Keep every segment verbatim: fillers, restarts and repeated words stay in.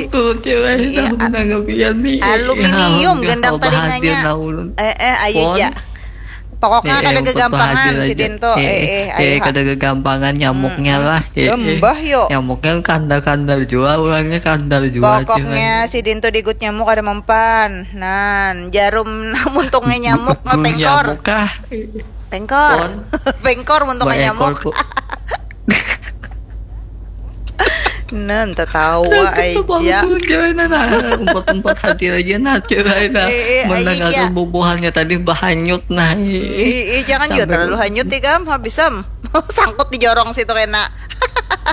Tuh, cewek Iya, tahu a- nang gapian nih. Aluminium Ya, gendang umpah bahadir telinganya. lah ulun. Eh, eh, ayo Pon. ja. Pokoknya Eh, kada eh, umpah gegampangan bahadir aja. sidin tuh. Eh, Eh, eh, eh, eh, ayo ha. Kada gegampangan nyamuknya lah. Eh, eh. Lembah yuk. Nyamuknya kandar-kandar jua, orangnya kandar jua. Pokoknya sidin tuh digut nyamuk ada mempan. Nan, jarum muntungnya nyamuk Burung pengkor. Nyamuk kah? Pengkor. Pon. Pengkor muntungnya Baekor nyamuk. ku- Nan, tetawa aja. Cewek nah, nah. Umpat-umpat hati aja nah cewek nah. Eh, eh, Mendengar aja. Bubuhannya tadi bahanyut nah. Ih, ih, jangan juga Sampai terlalu hanyut ikam, habis am. Sangkut di jorong situ kena.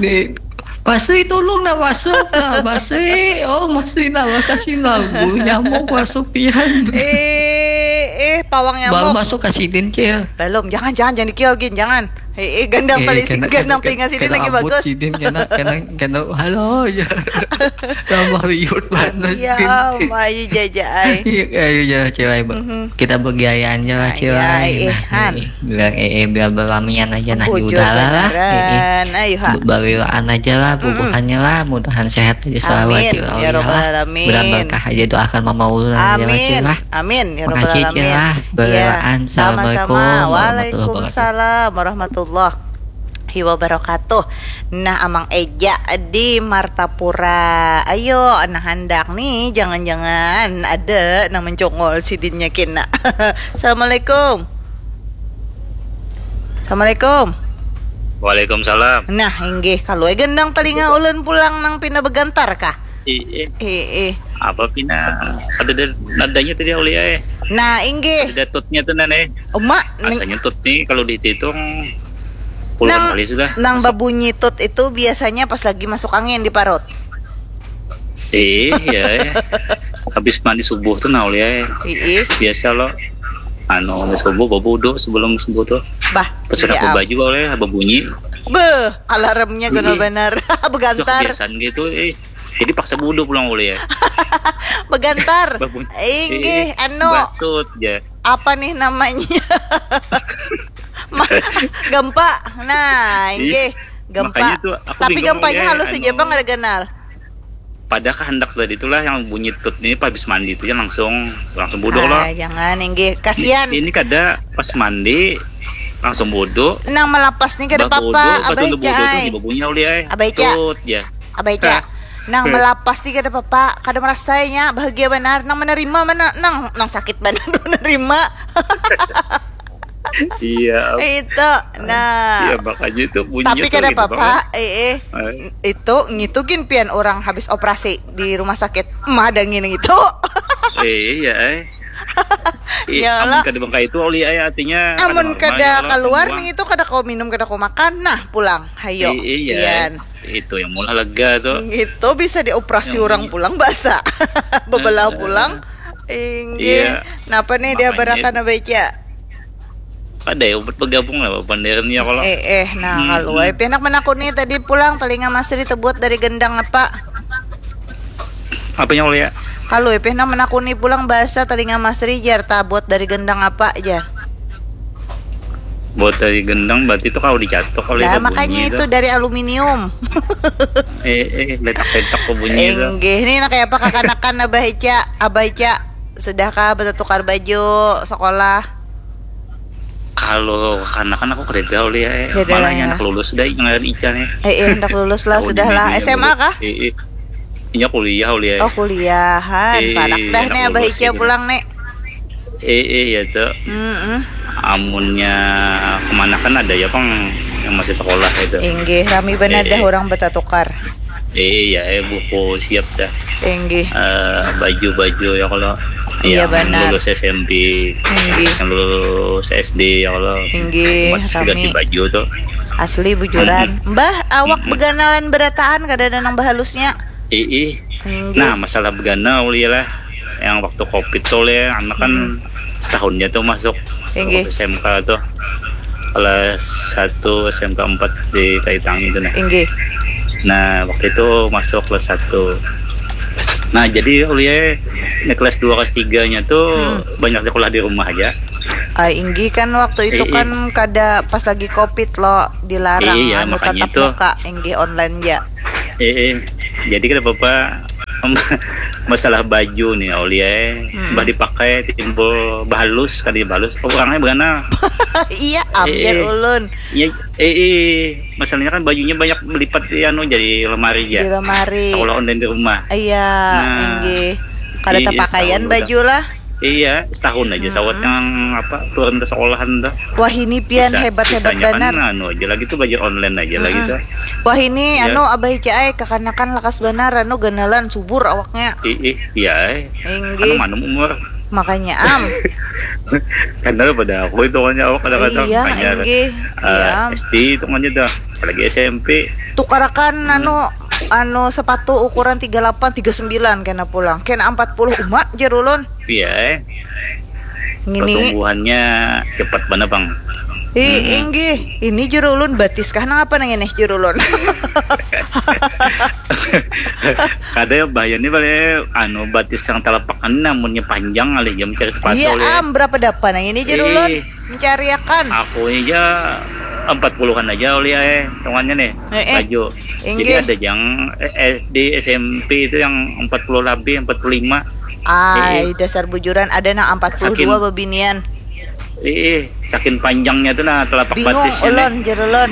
Di Masui, tolong nah, masuk nah, Masui. Oh, Masui nah, makasih nah. Bulu nyamuk masuk pian. Eh, eh, pawang Baru nyamuk. Masuk ke sidin, Cil. Belum, jangan, jangan, jangan dikiau gin, jangan. Eh, eh, gandang Eh, tali kena- gandang kena- telinga sidin kena lagi abut bagus. Sidin kena kena kena halo ya. Tambah liur banget. Ya, Din. mayu jaja ai. Iya, ayo ya cewek. Mhm. Kita bergayaan aja lah Nah, cewek. iya, eh, Nah, han. eh, bilang eh, eh, biar berlamian aja nah. Bujur Udahlah lah. Eh, eh. beneran. Ayo ha. Bariwaan aja lah, bubuhannya lah, mudahan sehat aja selalu Amin, Cil. ya robbal alamin. Mudahan berkah aja, doakan mama ulun aja lah, Amin. Cil lah. Amin ya robbal Makasih, Cil alamin. lah. Bariwaan. Ya, sama-sama. Assalamualaikum warahmatullahi wabarakatuh. Waalaikumsalam warahmatullahi wabarakatuh. Nah, Amang Eja di Martapura. Ayo, nah handak nih, jangan-jangan ada nang mencongol sidinnya kena. Assalamualaikum. Assalamualaikum. Waalaikumsalam. Nah, inggih, kalau gendang telinga ulun pulang nang pina begantar kah? Ih, Eh, eh. Apa pina ada da- nadanya tadi Aulia eh? Nah, inggih. Ada tutnya tuh nan eh. Uma, ning- Rasanya tut nih kalau dihitung puluhan nang, kali sudah. Nang Masuk. Babunyi tut itu biasanya pas lagi masuk angin di parut. Iya, eh. Habis mandi subuh tuh nah Aulia eh. Ih, Biasa lo. Anu, habis subuh babudu sebelum subuh tuh. Bah, Pas sudah iya, baju oleh babunyi. Beuh, alarmnya gunul Ih. benar. Sudah Begantar. Kebiasaan gitu eh. Jadi paksa budu pulang Aulia. Begantar. Babunyi. Inggih, Eh, anu, Batut ya. Apa nih namanya? Ma- gempa. Nah, Ih, inggih, gempa. Makanya tuh aku Tapi bingung gempanya ya, halus anu, aja apa nggak ada ganal? Pada kehendak tadi itulah yang bunyi tut ini pas habis mandi itu ya langsung langsung budu Ah, loh. Jangan, inggih, kasihan. Ini, ini kada pas mandi langsung budu. Nang melapas nih kada Bah budu, apa-apa, pas Abah dulu budu Ica tuh ai. di babunyi Aulia eh. Abah Ica. Tut ya. Abah Ica. Nang melapas nih kada apa-apa, kada merasanya bahagia benar, nang menerima mana, nang nang sakit benar menerima. Iya. Itu. Nah. Iya makanya itu bunyi Tapi tuh kada gitu apa-apa, banget. Eh, eh. Eh, Itu ngitu gin pian orang habis operasi di rumah sakit. Mah ada ngini gitu. eh, iya eh. Ih, Ya amun lah. Kada bangkai itu Aulia eh, artinya Amun normal kada ya, kalau keluar semua. Nih itu kada kau minum, kada kau makan, nah pulang. Hayo. I- iya. Pian. Itu yang mula lega tuh. Gitu bisa dioperasi Yang orang bunyi. Pulang basah. Bebelah Heeh. Pulang. Inggih. Iya. Napa nih dia Makanya barakan Abah Ica? Ada ya ubat bergabung lah panderannya kalau. Eh eh nah Hmm, kalau hmm. Ai pianak menakuni tadi pulang telinga Masri tebuat dari gendang apa? Apanya Aulia? Kalau Ai pianak menakuni pulang bahasa telinga Masri jar tabuat dari gendang apa jar? Buat dari gendang berarti itu kalau dicatok oleh Lah ada bunyi makanya itu dari aluminium. Eh eh letak-letak ke bunyi itu. Enggih, ini nak kayak apa kakanakan Abah Ica, Abah Ica sudahkah bertukar baju sekolah? Kalau anak-anak aku kada tahu ya. Kada Malah ya. Anak lulus sudah ngaran Ica nih. Eh, eh hendak lulus lah, Tahun sudah ini lah. dia S M A lulus. Kah? Eh, eh. Inya kuliah Aulia. Oh kuliahan, Eh, parak dah anak nih Abah lulus Ica gitu. Pulang nih. Eh eh ya tuh. Mm-mm. Amunnya kemanakan ada ya pang yang masih sekolah itu. Inggih, rami benar Eh, dah eh. Orang betatukar. Eh iya eh buku siap dah. Inggih. Eh, baju-baju ya kalau Iya, yang benar. Lulus S M P, Inggih. Yang lulus S D ya kalau Inggih, masih ganti rami. Baju tuh. Asli bujuran. Mbah, awak Mm-mm. Beganalan berataan kada ada nang bahalusnya. Eh eh. Inggih. Nah masalah begana Aulia lah, yang waktu covid tuh ya anak kan Hmm. Setahunnya tuh masuk Inggih. S M K tuh kelas satu S M K empat di Kaitangi itu nah. Inggih. Nah waktu itu masuk kelas satu. Nah jadi Aulia ini kelas dua kelas tiga-nya tuh Hmm. Banyak sekolah di rumah aja. Ah, inggih kan waktu itu Eh, eh. Kan kada pas lagi covid lo dilarang Iya, anu makanya tatap itu. Muka, inggih online ya. Eh, eh. Jadi kada apa-apa Masalah baju nih, Aulia, eh. Hmm. Bah dipakai timbul bahalus, kali bahalus. Oh, orangnya beganal. Iya, am, jar ulun. Iya, eh, eh. Masalahnya kan bajunya banyak melipat di anu, jadi lemari ya. Di lemari. Sekolah online di rumah. Iya, nah, inggih. Kada tapakaian baju lah. Iya, setahun aja sawat yang apa, turun ke sekolahan tuh. Wah, ini pian hebat-hebat banar. Anu aja lagi tuh, baju online aja lagi tuh. Wah, ini anu, Abah Ica ai, kakanakan lakas banar, anu, ganalan, subur awaknya. Ih, iya ai. Inggih. Anu, manum umur. Makanya, am. Kan pada aku itu kan awak kadang-kadang. Iya, inggih. Iya, am. S D itu kan aja dah. Apalagi S M P. Tukarakan, anu, anu, sepatu ukuran tiga lapan, tiga sembilan kena pulang. Kena empat puluh umat, jar ulun. Iya, eh. Ngini. Pertumbuhannya cepat banar, Bang. Ih, inggih. Ini jar ulun batis kah nang apa nang ini jar ulun? Kada ya, bahaya nih, balik anu, batis yang telapak kan, namunnya panjang alih jam cari sepatu. Iya, am, berapa dapan nang ini jar ulun? Mencariakan. Aku aja empat puluhan aja, Aulia, eh, hitungannya nih, eh, eh, baju. Jadi inggih. Ada yang, eh, S D, S M P itu yang empat puluh lebih, empat puluh lima. Ai, dasar bujuran, ada nang empat puluh dua bebinian. Ih, saking panjangnya tuh, nah, telapak batisnya. Bingung ulun, jar ulun.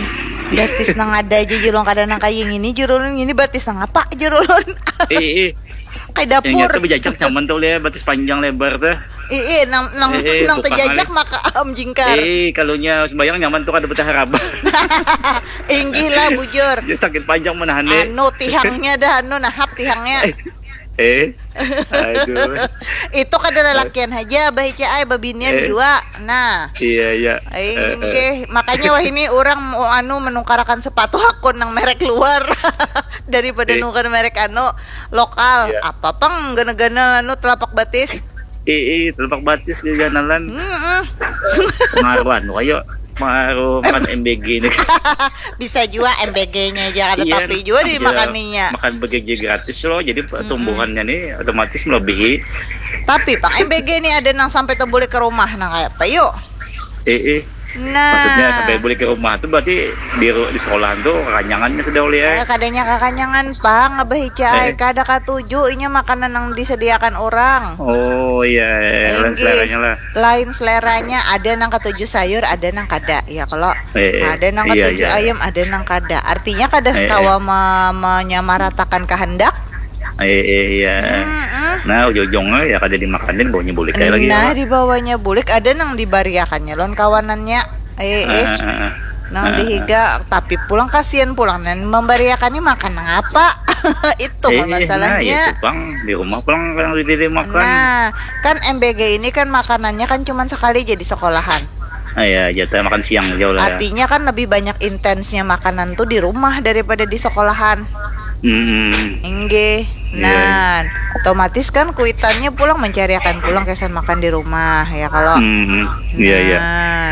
Batis nang ada aja, jar ulun, kada nang kaya ngini, jar ulun, ngini batis nang apa, jar ulun. Ih, ih. Kayak dapur. Yang nyata bejajak nyaman tuh, lihat batis panjang lebar tuh. Ih, ih, nang, nang, eh, eh, nang terjajak maka am jingkar. Eh, kalunya sembayang nyaman tuh, kada betah rabah. Inggih lah, bujur. Ya, sakit panjang menahan, eh. Anu, tihangnya dah, anu, nahap tihangnya. Eh, eh. Aduh. Itu kada lelakian aja, Abah Ica ai, babinian jua. Nah. Iya, iya. Inggih, makanya wah ini orang mau anu menukarakan sepatu hakun nang merek luar daripada nukar merek anu lokal. Iya. Apa pang ganal-ganal anu telapak batis? Ih, ih, telapak batis geganalan. Heeh. Pengaruh anu, ayo, pengaruh makan M B G ini. Bisa jua M B G-nya aja kada, iya, tapi jua dimakaninya. Makan B G G gratis loh, jadi pertumbuhannya nih otomatis melebihi. Tapi pang M B G nih ada nang sampai tebulik ke rumah, nang kayak apa yuk? Eh, eh. Nah. Maksudnya sampai balik ke rumah tuh berarti di ru-, di sekolahan tuh kekanyangannya sudah, Aulia, eh? Eh, kadanya kekanyangan pang, Abah Ica ai. Eh. Kada katuju inya makanan yang disediakan orang. Oh, iya, iya, iya. Lain seleranya lah. Lain seleranya, ada nang katuju sayur, ada nang kada, ya kalau. Eh, eh. Ada nang katuju ayam, ada nang kada. Artinya kada kawa me-, menyamaratakan kehendak. Eh, eh, iya. Mm-mm. Nah, ujung-ujungnya ya kada dimakanin, bawanya bulik aja lagi. Nah, ya, dibawanya bulik, ada nang dibariakannya lawan kawanannya. Eh, eh. Ah, ah, ah. Nang dihiga, tapi pulang kasihan pulang, dan membariakannya makan nang apa? Itu, eh, eh, masalahnya. Nah, itu pang, di rumah pulang yang diri makan. Nah, kan M B G ini kan makanannya kan cuman sekali jadi sekolahan. Ah, ya, jatah makan siang jauh lah, ya. Artinya kan lebih banyak intensnya makanan tuh di rumah daripada di sekolahan. Hmm. Inggih. Iya, iya. Nah, otomatis kan kuitannya pulang mencariakan pulang kesan makan di rumah, ya kalau. Hmm. Iya, iya. Nah,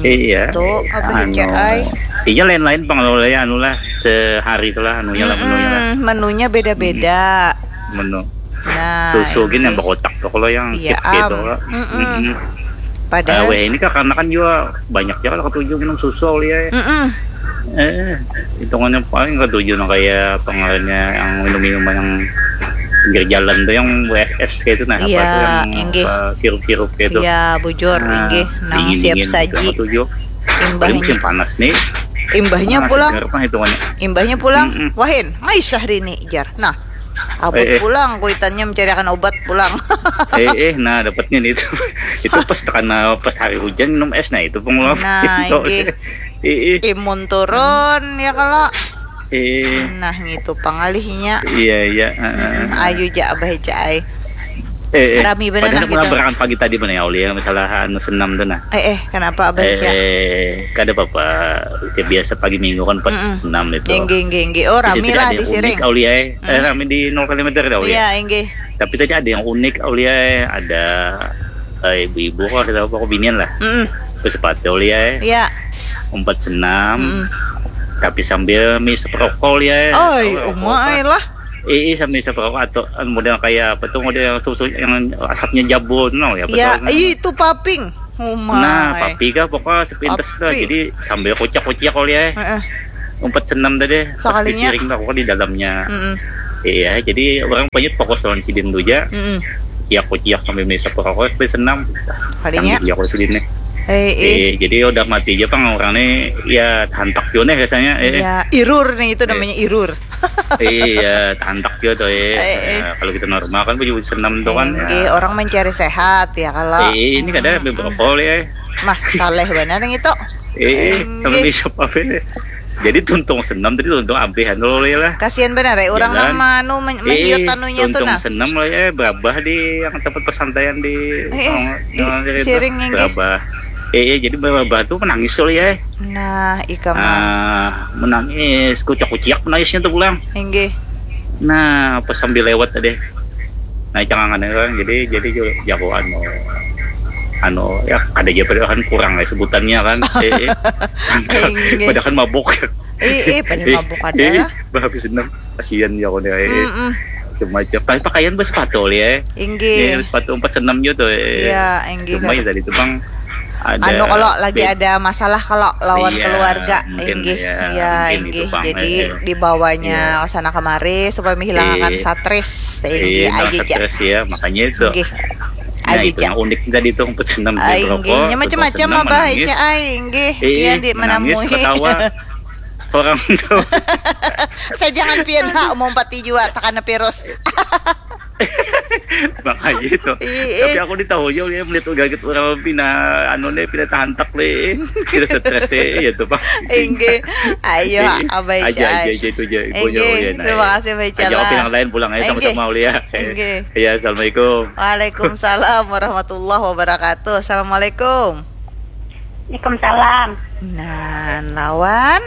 iya. Itu, Abah Ica ai. Iya, lain-lain pang, anu lah, sehari itulah anunya lah, menunya lah. Mm-mm, menunya beda-beda. Menu. Nah, susu gini yang berkotak tuh, kalau yang, iya, chip gitu, am. Mm-mm. Padahal, eh, weh, ini kan karena kan juga banyak ya kalau ketujuh minum susu, Aulia, ya. Mm-mm. Eh, hitungannya paling ketujuh nah kayak pengaruhnya yang minum-minuman yang pinggir jalan tuh, yang W S S kayak itu, nah, apa tuh, yang, inggih, apa, sirup-sirup kayak itu. Iya, bujur, nah, inggih. Nang dingin-dingin siap saji. Ketujuh. Paling musim panas nih. Imbahnya pulang. Segar mah hitungannya. Imbahnya pulang. Mm-mm. Wahin, ngai Syahrini, jar. Nah, abut, eh, eh, pulang, kuitannya mencariakan obat pulang. Eh, eh, nah, dapatnya nih itu. Itu pas tekan, eh, pas hari hujan minum es, nah, itu pengulap. Nah, itu. Inggih. Eh, eh. Imun turun, ya kalau. Eh. Nah, ngitu pangalihnya. Iya, iya, heeh. Hmm, ayu ja, Abah ja ai. Eh, eh. Rami bener. Padahal nah kita gitu. Berakan pagi tadi mana ya, Aulia, masalah anu senam tuh nah. Eh, eh, kenapa, Abah Ica? Eh, kada apa-apa. Ya, biasa pagi minggu kan pas senam itu. Inggih, inggih, inggih. Oh, rami lah di Siring. Jadi tidak ada yang unik, Aulia, eh. Eh, rami di nol kilometer dah, Aulia. Iya, inggih. Tapi tadi ada yang unik, Aulia, eh. Ada, eh, ibu-ibu kok, ada apa, kok binian lah. Mm-mm. Bersepatu, Aulia, eh. Iya. Umpat senam. Mm-mm. Tapi sambil ngisep rokok, Aulia, eh. Oi, umai lah. Ih, ih, sambil ngisep rokok atau, eh, model kayak apa tuh, model yang susu, yang asapnya jabun, no, ya, iya, betul, no. Ih, itu paping. Umai. Nah, papi kah pokoknya sepintas lah. Papi. Jadi sambil kocak-kocak kali ya. Heeh. Umpat senam tadi. Pas sekalinya di Siring tuh, aku kan di dalamnya. Mm-mm. Iya, jadi orang banyak fokus lawan sidin tu ja. Mm-mm. Ciak kuciak sambil menghisap rokok, sambil senam. Kalinya. Canggih ya kalau sidin nih. Eh, eh. Eh, jadi udah mati aja pang orang nih, ya hantak juga nih rasanya. Eh, Ya, irur nih itu namanya irur. Iya, hantak juga tuh eh. Eh, eh. Ya, kalau kita normal kan baju senam tuh kan. Inggih, orang mencari sehat ya kalau. Eh, ini kada ambil brokoli eh. Mah, saleh benar yang itu. Eh, Inggih. Kalau bisa apa ini? Jadi tuntung senam tadi tuntung ampihan dulu ya lah. Kasihan benar ya orang Jalan. nama anu men- Eh, menyut anunya tuh tuntung nah. Senam lah ya, berabah di yang tempat pesantaian di Eh, eh, yang- di yang itu, siring inggih. Berabah. Eh, eh, jadi berabah tuh menangis loh ya. Nah, ika mah. Ah, menangis, kucak-kuciak menangisnya tuh pulang. Inggih. Nah, pas sambil lewat tadi. Nah, cangangan kan jadi jadi jago anu anu ya ada aja padahal kan kurang ya sebutannya kan. Eh, eh. Inggih. Padahal kan mabuk. Ih, ih, pada Eh, mabuk adalah. Bah habis senam kasihan ya kau nih. Eh. Mm-mm. Cuma aja pakai pakaian bersepatu ya. Inggih. Ya, sepatu empat senam gitu. Eh. Iya, inggih, Cuma kan. Ya tadi tuh bang ada Anu kalau lagi bed- ada masalah kalau lawan Iya, keluarga, mungkin inggih, ya, iya mungkin inggih. Gitu, Bang. Jadi Eh, dibawanya Iya. Sana kemari supaya menghilangkan Iya. Stres, Iya, inggih nah, aja ja. Stres ya, makanya itu. Inggih. Nah, Aja itu ja. Yang unik tadi tuh empat senam Ah, di inggih, rokok, nya macam-macam senam, abah menangis. Ica ai, inggih. Eh, Pian di menangis, menamui. Ketawa. Orang tuh. Saya jangan pian ha mau empati jua takana virus. Makanya itu. Iya. Tapi aku ditahu juga ya melihat gaget orang pina anu nih pina tahantak nih. Pina stres ya tuh Pak. Inggih. Ayo, Eh, abah aja, Ica aja, ai. aja itu aja. Ibunya Inggih, Uyan, terima ayo. Kasih abah Ica Aja lah. Opi yang lain pulang aja Inggih. Sama-sama Ulia. Inggih. Ya, assalamualaikum. Waalaikumsalam warahmatullahi wabarakatuh. Assalamualaikum. Waalaikumsalam. Nah, lawan.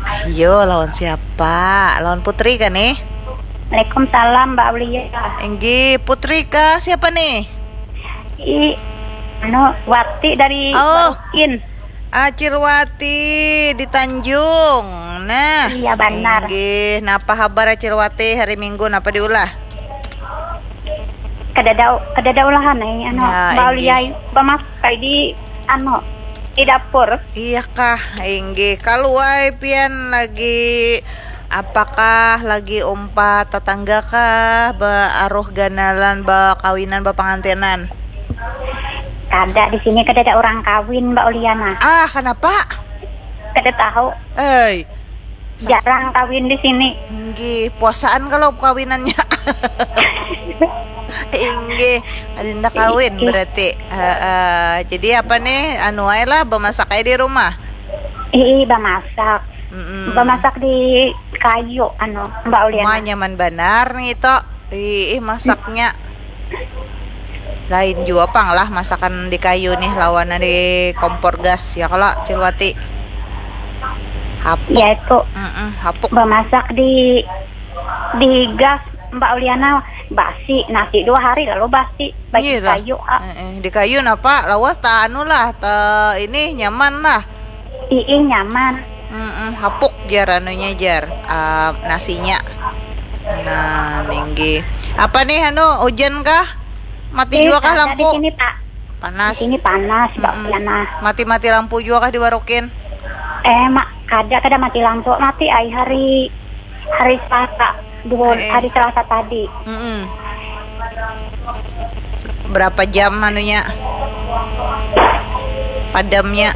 Ayo, lawan siapa? Lawan Putri kan nih? Waalaikumsalam Mbak Aulia. Inggih, Putri kah? Siapa nih? I anu Wati dari Oh. Barukin. Acil Wati di Tanjung. Nah, Iya, benar. Inggih, napa habar Acil Wati hari Minggu napa diulah? Kadada kadada ulahan ai anu Ya, Mbak inggih. Aulia bamasak ai di anu di dapur. Iya kah, inggih. Kalu ai pian lagi apakah lagi umpat tatangga kah ba aruh ganalan ba kawinan ba pangantinan? Kada di sini kadada orang kawin Mbak Aulia nah. Ah, kenapa? Kada tahu. Hei, Jarang kawin di sini. Inggih, puasaan kalau kawinannya. Inggih, adinda kawin Inggih. Berarti. Heeh. Jadi apa nih? Anu ae lah bemasak ae di rumah. Ih, bamasak. Mm-mm. Bamasak di kayu anu Mbak Aulia. Wah, nyaman banar nih to. Ih, ih, masaknya. Lain jua pang lah masakan di kayu nih lawanan di kompor gas ya kalau Cilwati. Hapuk. Ya itu Mm-mm, hapuk. Bamasak di di gas Mbak Aulia nah basi nasi dua hari lalu basi bagi Iya lah. Kayu ah. Heeh, di kayu napa lawas ta anu lah ta ini nyaman lah. Ii nyaman. Mm-mm, hapuk jar anunya jar ah, nasinya. Nah, ninggi. Apa nih anu hujan kah? Mati Ih, juga kah ada lampu? Di sini Pak. Panas. Di sini panas Mbak Mm-mm. Aulia nah. Mati-mati lampu juga kah di Warukin? Eh mak kada kada mati lampu mati ai hari hari Selasa dua Eh, eh. Hari Selasa tadi. Mm-mm. Berapa jam anunya? Padamnya.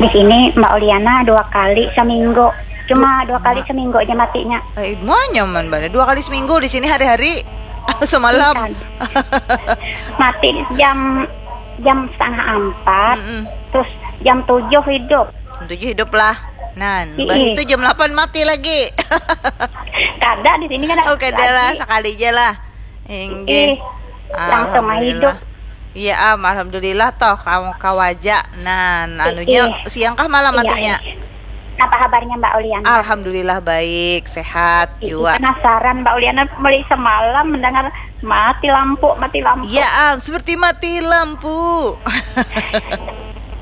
Di sini Mbak Aulia nah dua kali seminggu. Cuma dua kali seminggu aja matinya. Eh, wah, nyaman banget. Dua kali seminggu di sini hari-hari. Semalam. Kan. Mati jam jam setengah empat, Mm-mm. Terus jam tujuh hidup. Jam tujuh hidup lah. Nah, Ii. Mbah itu jam delapan mati lagi. Kada di sini kan. Oh, kada lah, sekali aja lah. Inggih. Ih, langsung mah Alhamdulillah. Hidup. Iya, am, alhamdulillah toh kamu kawaja. Nah, anunya Ih. Siang kah malam Iya, matinya? Iya. Apa kabarnya Mbak Aulia nah? Alhamdulillah baik, sehat Ih, juga. Penasaran Mbak Aulia nah mulai semalam mendengar mati lampu, mati lampu. Ya, am, seperti mati lampu.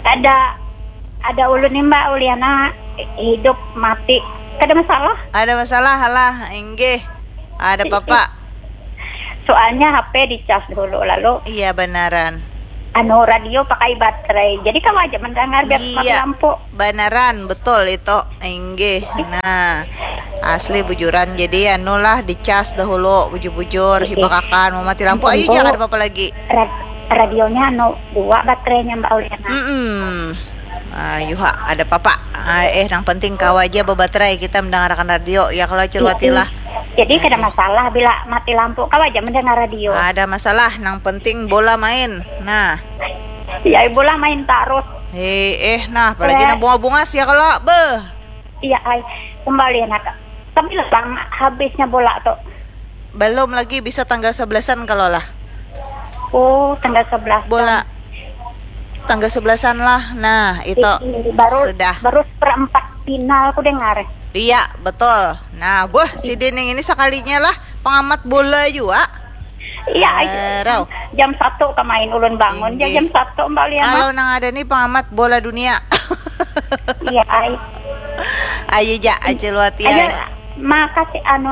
Ada ada ulun nih Mbak Aulia nah hidup mati. Kada masalah. Ada masalah lah, inggih. Ada apa-apa? Soalnya H P dicas dulu lalu Iya, benaran. anu, radio pakai baterai. Jadi kawa aja mendengar biar mati Iya, lampu. Banaran, betul itu. Inggih. Nah, asli bujuran. Jadi anulah dicas dahulu bujur-bujur, hibakakan mau mati lampu. Ayo, jangan ada apa-apa lagi. Rad- radionya anu dua baterainya, Mbak Uliana. Mm-mm. Ah, yuha, ada apa-apa. Ah, eh, nang penting kawa aja bebaterai kita mendengarkan radio. Ya kalau Acil Wati lah. Jadi kada masalah bila mati lampu, kawa aja mendengar radio. Ada masalah, nang penting bola main. Nah, Ya, bola main tarus. eh, eh, nah, apalagi Eh. nang bunga-bunga sih ya kalau beh. Iya, ai. Kembali nak. Tapi bang habisnya bola tuh. Belum lagi bisa tanggal sebelasan kalau lah. Oh, tanggal sebelas. Bola tanggal sebelasan lah. Nah, itu Ih, baru sudah. Baru seperempat final aku dengar. Iya, betul. Nah, buh, si Dening ini sekalinya lah pengamat bola juga. Iya, ai. Eh, Rau. Jam satu kemain ulun bangun ja Inggih. Jam satu, Mbak Uliana. Kalau nang ada nih pengamat bola dunia. Iya, ai. Ayo ja, Acil Wati. Ayo, makasih anu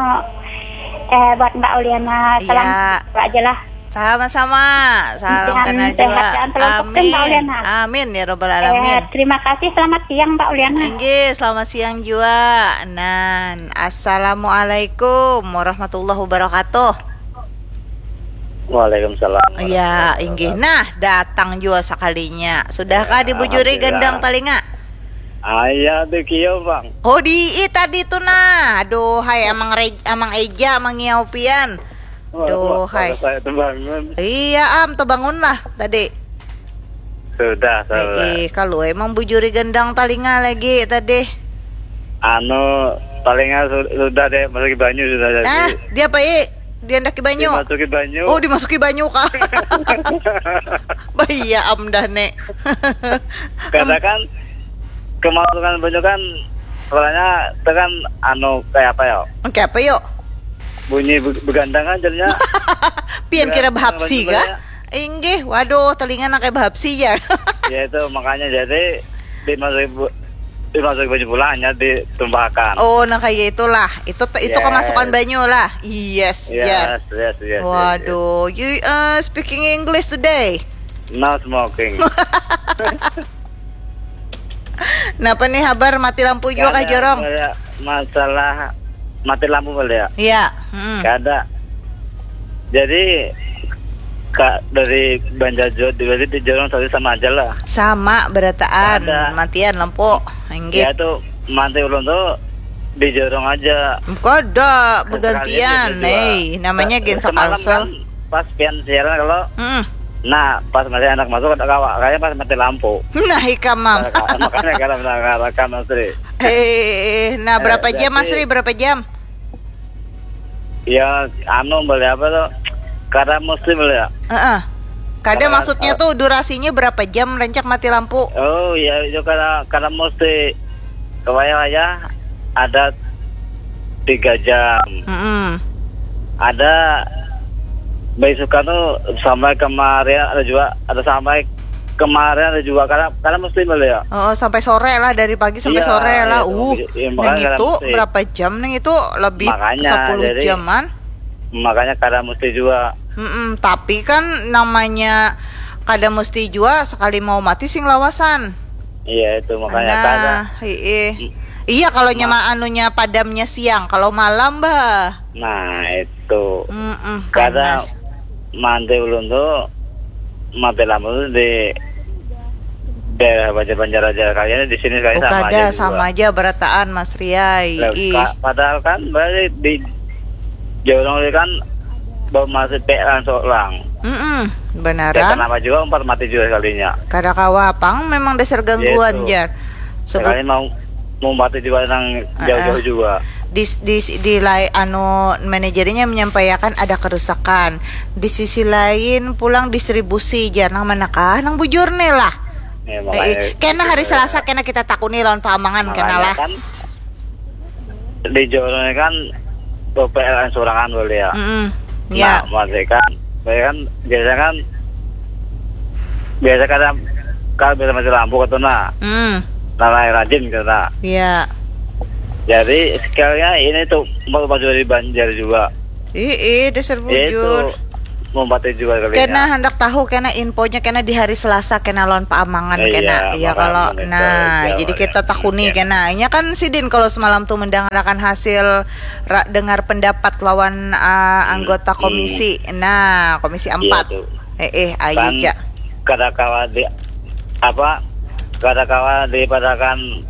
eh buat Mbak Uliana. Salam Iya. Sejahtera aja lah. Sama-sama. Salam Dan kenal sehat juga. dan selamat Amin. Mbak Uliana. Amin ya robbal Eh, alamin. Terima kasih, selamat siang Mbak Uliana. Inggih, selamat siang juga. Nan, assalamualaikum warahmatullahi wabarakatuh. Waalaikumsalam. Ya, inggih. Nah, datang juga sekalinya. Sudahkah dibujuri Alhamdulillah. Gendang talinga? Ayah tuh kio bang. Oh, di i tadi tuh nah. Aduh, hai amang Rej, amang Eja, amang Ngiau pian. Duh, hai. Saya tuh bangun. Iya, am, terbangunlah tadi. Sudah, sudah. Eh, eh, kalau emang bujuri Gendang talinga lagi tadi. Anu, talinga su- sudah deh, masuki banyu sudah jadi. Ah, dia apa i? Dia ndaki banyu. Dimasuki banyu. Oh, dimasuki banyu kah? Bahaya am dah nek. Karena kan kemasukan banyu kan suaranya itu kan anu kayak apa ya? Oke, apa yuk? Bunyi be- begandang kan jadinya. Pian kira Berat, bahapsi berat kah? juga Inggih, waduh, telinga nang kayak bahapsi ya. Ya itu makanya jadi dimasuki bu- dimasuki banyu pulang hanya ditumpahkan. Oh, nang kayak itulah. Itu itu Yes. kemasukan banyu lah. Yes, Yes, ya. Yes, yes, yes, yes. Waduh, you uh, speaking English today? No smoking. Napa nih habar mati lampu juga kah Kada, jorong? Kada masalah mati lampu boleh ya? Iya, hmm. Kada. Jadi kak dari Banjar Jod di di jorong tadi sama aja lah. Sama berataan Ada. matian lampu. Inggih. Ya tuh mati ulun tuh di jorong aja. Kada Sekalian begantian, itu juga. eh, namanya gen Semalam sakalsel. Kan pas pian siaran kalau Hmm. nah pas masih anak masuk ada kawa kayaknya pas mati lampu. Nah, ikam mam. Makanya kalau mendengarkan Mas Tri. Eh, nah berapa Eh, jam Mas jadi- Ri? Berapa jam? Ya anu beli apa tuh? Kada mesti beli ya. Heeh. Kada Kada- maksudnya tuh durasinya berapa jam rancak mati lampu? Oh ya itu kada kada mesti kewaya ya ada tiga jam. Mm-mm. Ada besukan tuh sampai kemarin ada juga ada sampai kemarin ada juga karena karena mesti beli ya. Oh, sampai sore lah, dari pagi sampai Iya, sore lah. Itu. Uh, Iya, nang makanya itu kada mesti. Berapa jam nang itu? Lebih Makanya, sepuluh jadi- jaman. Makanya kada mesti juga. Mm-mm, tapi kan namanya kada mesti jua sekali mau mati sing lawasan. Iya itu makanya kada. Nah, hiih. Iya kalau nyama anunya padamnya siang, kalau malam bah. Nah itu. Mm-mm, Kada panas. Mandi ulun tuh mati lampu tuh di daerah Banjar Banjar aja kalian di sini sekali Oh, sama kada aja juga. Sama aja berataan Mas Riai. Lah, Ih. pa- padahal kan balik di jorong ini kan baru masih pelan seorang. Mm-mm, Ya, benaran. Kenapa juga empat mati juga sekalinya. Kada kawa pang memang dasar gangguan Gitu. jar. Sebut Sekali mau mau mati juga nang jauh-jauh juga. di di di lai anu manajernya menyampaikan ada kerusakan. Di sisi lain pulang distribusi jar nang manakah nang bujur nih lah. Ya, Eh, makanya eh, kena hari gitu. Selasa kena kita takuni lawan Pak Amangan kena Makanya lah. Kan di jorong ini kan P L N sorangan boleh ya. Mm-mm. Nah, Ya. Masih kan, saya kan biasanya kan biasa kadang kalau biasa mati lampu gitu nah, Hmm. nah rajin gitu nah. Ya. Jadi sekalinya ini tuh mau maju di Banjar juga. Ih, ih, dasar Itu bujur. Mumpati juga kali. Kena ya. Handak tahu kena infonya kena di hari Selasa kena lawan Paamangan. Eh, kena iya, iya kalau nah, jadi kita takuni kena. Nya kan sidin kalau semalam tuh mendangarakan hasil ra, dengar pendapat lawan uh, anggota komisi. Hmm. Nah, komisi empat. Iya, eh eh ayo kan, ja. Kada kawa di apa? Kada kawa dipadakan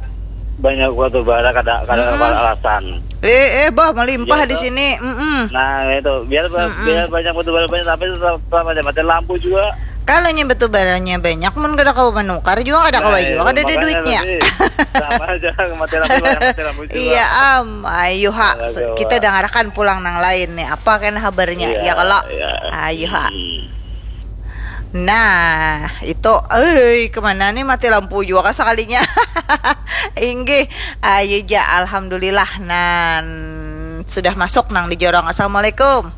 banyak batu bara kada kada hmm. Alasan. Eh eh bah melimpah iya, di sini. Mm -mm. Nah, itu biar mm -mm. Biar banyak batu bara banyak tapi tetap tetap aja mati lampu juga. Kalau nya batu baranya banyak mun kada kawa menukar juga kada kawa nah, juga kada ada duitnya. Sama aja mati lampu mati lampu juga. Iya am, ayo ha kita dengarkan pulang nang lain nih apa kan habarnya iya, ya kalau iya. Ayo ha. Hmm. Nah, itu eh kemana nih mati lampu juga sekalinya. Inggih, ayo ja alhamdulillah nan sudah masuk nang di jorong. Assalamualaikum.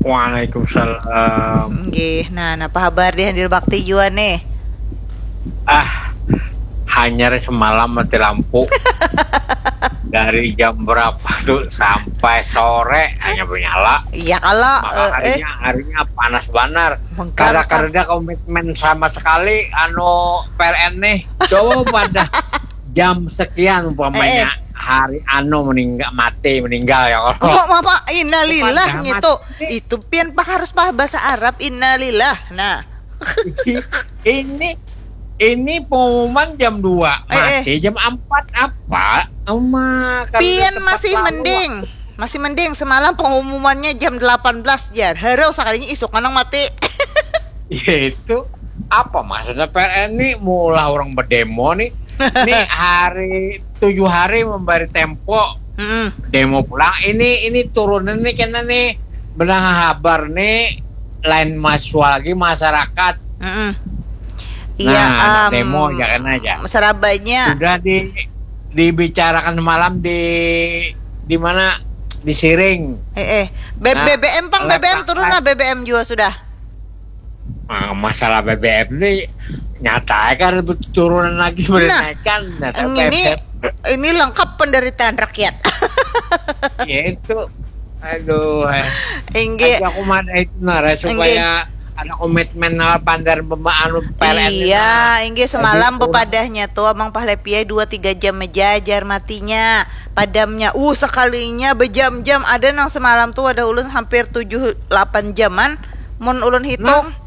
Waalaikumsalam. Inggih, nah apa kabar di Handil Bakti jua nih? Ah, hanyar semalam mati lampu. Dari jam berapa tuh sampai sore hanya menyala. Iya kalau maka eh, harinya eh. Harinya panas banar. Kada kada komitmen sama sekali anu P L N nih. Coba pada jam sekian umpamanya eh, eh. Hari anu meninggal mati meninggal ya kalau. Kok apa innalillah gitu. Itu pian pak harus paham bahasa Arab innalillah. Nah. Ini ini pengumuman jam dua eh, eh. Mati jam empat apa? Uma, pian masih mending. Masih mending semalam pengumumannya jam delapan belas jar. Harau sekalinya isuk nang mati. Ya itu apa maksudnya P L N ini maulah orang berdemo nih. Nih hari tujuh hari memberi tempo. Mm -mm. Demo pulang ini ini turunan nih kena nih benang habar nih lain mahasiswa lagi masyarakat. Mm -mm. Iya, nah, um, demo ya kan aja. Serabanya sudah di dibicarakan malam di di mana di Siring. Eh, eh. Be nah, B B M pang B B M turun lah B B M juga sudah. Nah, masalah B B M ini nyata kan turunan lagi nah, menaikkan. Nah, ini ini lengkap penderitaan rakyat. Ya itu. Aduh. Inggih. Aku mana itu nara supaya ada komitmen nara pandar anu P L N. Iya, inggih semalam bepadahnya tuh Abang Pahlepiai dua tiga jam mejajar matinya. Padamnya uh sekalinya berjam-jam ada nang semalam tuh ada ulun hampir tujuh delapan jaman mun ulun hitung. Nah.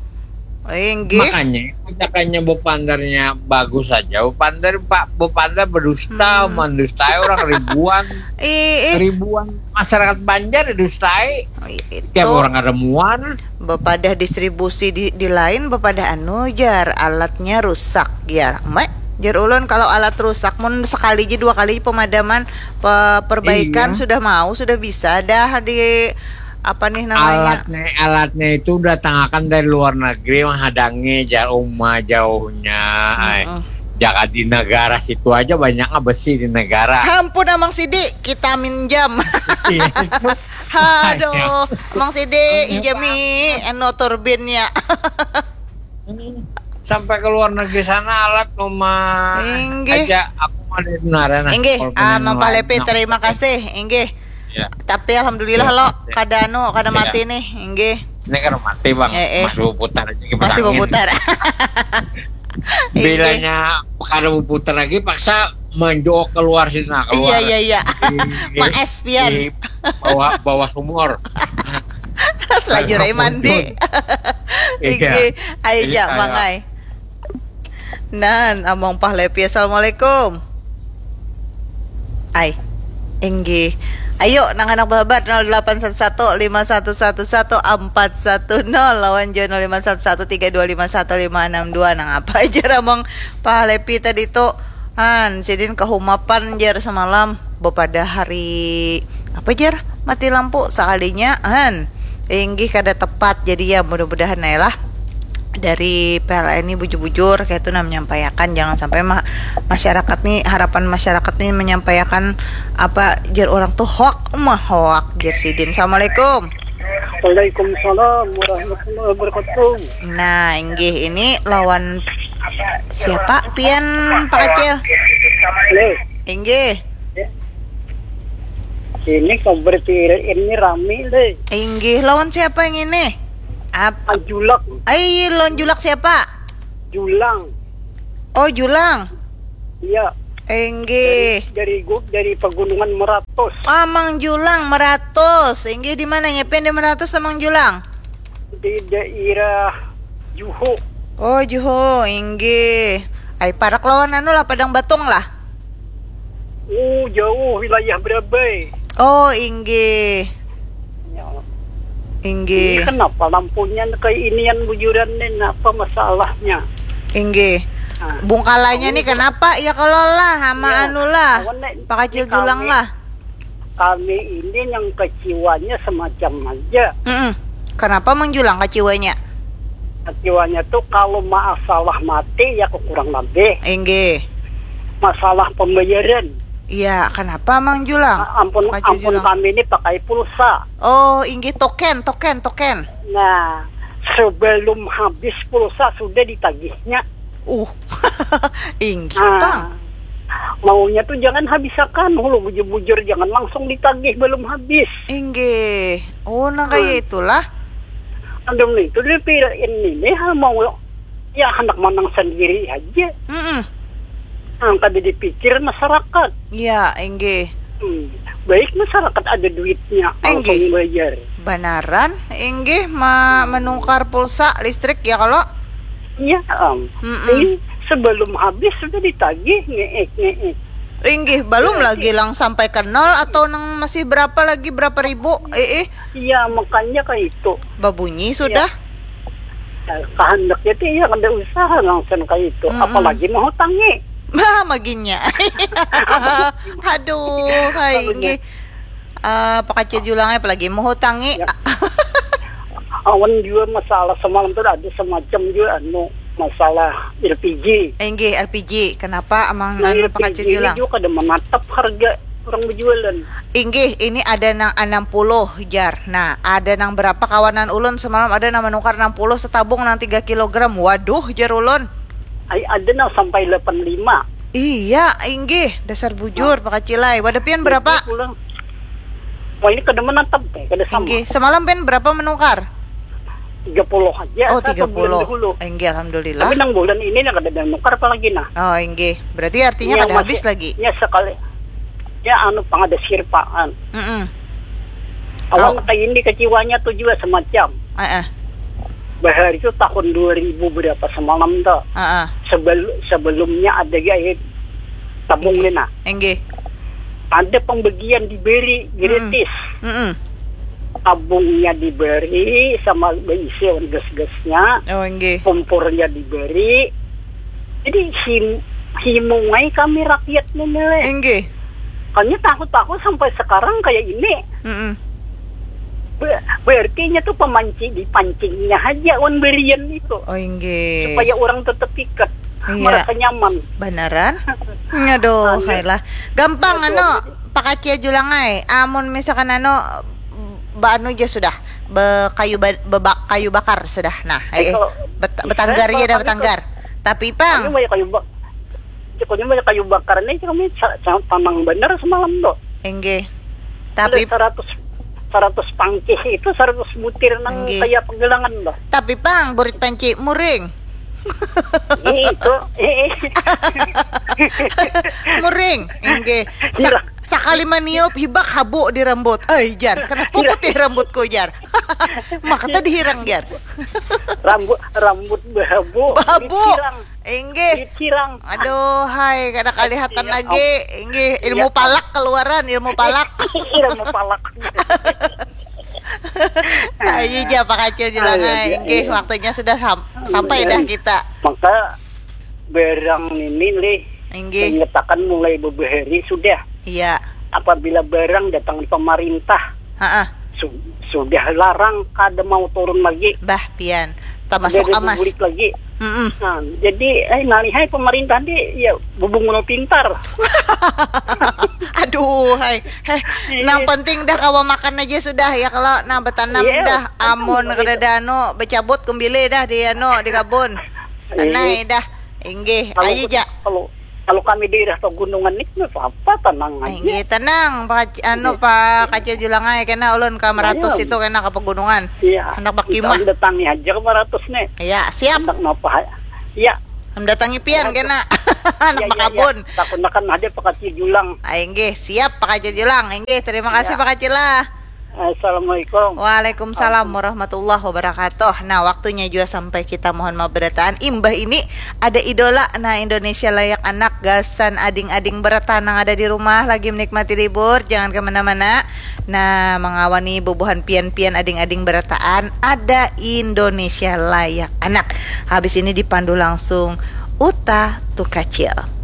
Inggih. Makanya ajakannya bepandarnya bagus saja. Bepandar pak bepandar berdusta hmm. Mendustai orang ribuan. Ih, ribuan masyarakat Banjar didustai. Tiap orang ada muan. Bepadah distribusi di, di lain bepadah anu jar alatnya rusak jar. Mek jar ulun kalau alat rusak mun sekali aja dua kali pemadaman pe, perbaikan iya. Sudah mau sudah bisa dah di apa nih namanya? Alatnya alatnya itu datangkan dari luar negeri menghadangi jar uma jauhnya. Mm -mm. Jaga di negara situ aja banyaknya besi di negara. Ampun Amang Sidi, kita minjam. Iya. Aduh, Amang Sidi injami eno turbinnya. Sampai ke luar negeri sana alat rumah Inggih. Aja aku mau dari Nara nah. Inggih, ah, Mang Palepi terima kasih. Inggih. Ya. Tapi alhamdulillah ya, lo ya. Kada anu, kada ya. Mati nih, inggih. Ini kan mati bang, eh, eh. Masih putar aja. Masih putar. Bilanya kada putar lagi, paksa menjok keluar sini nah, keluar. Iya iya iya. Maes pian. Bawa bawa sumur. Selajur mandi. Iya. Iki, ayo ja mangai. Nan, among pahlepi. Assalamualaikum. Ai. Inggih. Ayo nang handak bahabar nol delapan satu satu lima satu satu satu empat satu nol lawan jua nol lima satu satu tiga dua lima satu lima enam dua. Nang apa aja ramong pahalepi tadi tu. Han, sidin kahumapan jar samalam bepada hari apa jar mati lampu sakalinya han. Inggih kada tepat jadi ya mudah-mudahan ya lah. Dari P L N ni bujur-bujur kaitu nah menyampaiakan jangan sampai ma masyarakat ni harapan masyarakat ni menyampaiakan apa jar urang tu hoak uma hoak jar sidin. Assalamualaikum. Waalaikumsalam warahmatullahi wabarakatuh. Nah inggih ini lawan siapa pian Pak Kacil? Inggih. Ini kabar ini rami deh. Inggih lawan siapa yang ini? Apa? Julak. Ai, lawan Julak siapa? Julang. Oh, Julang. Iya. Inggih. Dari, dari gu-, dari Pegunungan Meratus. Amang Julang Meratus. Inggih, di mana nyepen di Meratus, Amang Julang? Di daerah Juhu. Oh, Juhu, inggih. Ai, parak lawan anu lah, Padang Batung lah. Oh, jauh wilayah Berabai. Oh, inggih. Ya. Inggih. Ini kenapa lampunya kayak inian bujuran nih? Apa masalahnya? Inggih. Nah, bungkalannya nih kenapa? Ya kalau lah, sama ya, anu lah. Pak Kacil Julang lah. Kami ini yang keciwanya semacam aja. Mm-mm. Kenapa Mang Julang keciwanya? Keciwanya tuh kalau masalah mati ya kurang lebih. Inggih. Masalah pembayaran. Iya, kenapa Mang Julang? Ah, ampun, Pak Kacil ampun Julang. Kami ini pakai pulsa. Oh, inggih, token, token, token. Nah, sebelum habis pulsa sudah ditagihnya. Uh, inggih, nah, Pang. Maunya tuh jangan habisakan, hulu bujur-bujur jangan langsung ditagih belum habis. Inggih. Oh, nah, kayak itulah. Andung itu dia pira ini nih, ha, mau ya hendak menang sendiri aja. Mm-mm. Nah, kada dipikir masyarakat. Iya, inggih. Hmm, baik masyarakat ada duitnya, inggih, langsung bayar. Banaran, inggih, ma-, menukar pulsa listrik ya kalau? Iya, Am. Mm-mm. Ini sebelum habis sudah ditagih, ngeek, ngeek. Inggih, belum lagi lang sampai ke nol atau nang masih berapa lagi, berapa ribu? Eh, eh. Iya, makanya kayak itu. Babunyi sudah. Nah, kehendaknya tuh iya kada usah langsung kayak itu. Mm-mm. Apalagi mau hutangi. Bah, maginya. Aduh, hai, inggih. Ah, Pak Kacil Julang, apalagi mau hutangi. Ya. Awan juga masalah semalam tuh ada semacam juga anu masalah L P G. Inggih, L P G. Kenapa amang anu Pak Kacil Julang? Nah, L P G ini juga kada menatap harga orang berjualan. Inggih, ini ada nang enam puluh, jar. Nah, ada nang berapa kawanan ulun semalam ada nang menukar enam puluh setabung nang tiga kilogram. Waduh, jar ulun. Ai, ada nang sampai delapan lima. Iya, inggih, dasar bujur, nah, Pak Kacil ai. Wadah pian berapa? Pulang. Wah, ini kada menatap, eh, kada sama. Inggih, semalam pian berapa menukar? Tiga puluh aja. Oh, tiga puluh. Inggih, alhamdulillah. Tapi nang bulan ini nang kada ada nukar apa lagi, nah. Oh, inggih. Berarti artinya kada habis lagi. Ya, sekali. Ya, anu, pang ada sirpaan. Mm-mm. Awan kayak ini keciwanya tuh juga semacam. Heeh. Bahari itu tahun dua ribu berapa semalam tuh. Heeh. Sebel-, sebelumnya ada gaya tabung nih, nah. Inggih. Ada pembagian diberi gratis. Mm-mm. Tabungnya diberi sama beisi awan gas-gasnya. Oh, inggih. Kompornya diberi. Jadi him-, himungai kami rakyat nih, Mele. Inggih. Kami tahu-tahu sampai sekarang kayak ini. Mm-mm. Be-, berarti nya tuh pemanci-, dipancingnya aja wan berian itu. Oh, inggih. Supaya orang tetap ikat, iya, merasa nyaman. Banaran? Aduh, aduh. Hai lah. Gampang, aduh, anu, Pak Kacil Julang ai. Amun misalkan anu, ba-, anu aja sudah. Be-, kayu ba-, bebak-, kayu bakar sudah. Nah, eh, eh, kalau bet-, betanggar aja dah, betanggar. Tapi, Pang. Kami banyak kayu ba-, Pokoknya banyak kayu bakar nih, kami sa-, sa-, tanang bener semalam tuh. Inggih. Tapi seratus, seratus pangkih itu seratus butir nang, inggih, kayak penggelangan tuh. Tapi, Pang, burit panci muring. Itu, eh, eh. Muring, inggih. Sa-, sakali maniup, hibak habu di rambut. Ai, jar, kenapa putih rambutku, jar? Maka tadi hirang, jar. Rambut, rambut bahabu. Bahabu. Dikirang. Inggih. Dikirang. Aduh, hai, kada kalihatan lagi. Inggih, ilmu palak keluaran, ilmu palak. Ilmu palak. Ayo, ja, Pak Kacil Julang ai. Inggih, waktunya sudah sam-, sampai dah kita. Maka barang ini, Lih, inggih, menyatakan mulai beberapa hari sudah. Iya. Apabila barang datang di pemerintah, ha-ah, su-, sudah larang, kada mau turun lagi. Bah, pian. Termasuk amas. Bulik lagi. Mm-mm. Nah, jadi, eh, ngalihai pemerintah ni, ya, bubungul pintar. Aduh, hai. Heh, iya, nang penting dah kawa makan aja sudah, ya, kalau nah betanam, iya, dah, amun kada anu, becabut kumbili dah di anu, di kabun. Iya. Anai dah. Inggih, ayo, ja. Kalau, Kalau kami daerah pegunungan ni, apa, tenang aja. Inggih, tenang, Pak Kac-, anu, Pak Kacil Julang ai, kena ulun ka Meratus itu, kena ka pegunungan. Iya. Hendak bakimah. Datangi aja ke Meratus nih. Iya, siap. Hendak napa? Iya. Mendatangi pian kena. Anak Iya, iya, bakabun. Iya. Takunakan ada Pak Kacil Julang. Ah, inggih, siap, Pak Kacil Julang. Inggih, terima kasih, Pak Kacil lah. Assalamualaikum. Waalaikumsalam warahmatullahi wabarakatuh. Nah, waktunya juga sampai kita mohon maaf berataan. Imbah ini ada idola, nah, Indonesia Layak Anak, gasan ading-ading berataan nang ada di rumah lagi menikmati libur, jangan kemana-mana. Nah, mengawani bubuhan pian-pian ading-ading berataan, ada Indonesia Layak Anak. Habis ini dipandu langsung Uta Tukacil.